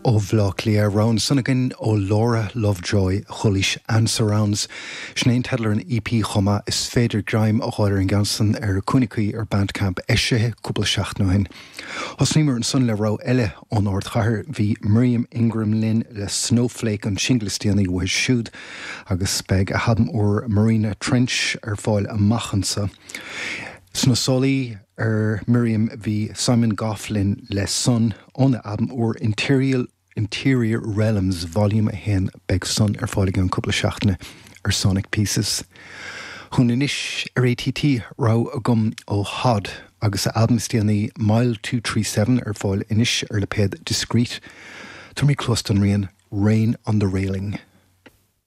Ó Bhaile Átha Cliath, rogha ansan againn ó Laura Lovejoy, Chulaois and Surrounds. Sin é an teideal ar an EP chomh maith. Is féidir greim a fháil ar an gceann san ar Cúinne Caoi ar Bandcamp, eisithe cúpla seachtain ó shin. Thosnaíomar ansan le rogha eile ón ardchathair. Bhí Miriam Ingram linn le Snowflake, an singil is déanaí uaithi siúd, agus beidh a halbam úr Marina Trench ar fáil amach anso. Sna sálaí ar Miriam bhí Simon Gough linn le Sun óna albam úr Interior Interior Realms Volume 1. Beidh Sun ar fáil i gceann cúpla seachtaine ar Sonic Pieces. Chugainn anois ar ATT rogha agam ó Hod agus a albam is déanaí Mile 237 ar fáil anois ar lipéad Discreet. Tabharfaimid cluas don rian Rain on the Railing.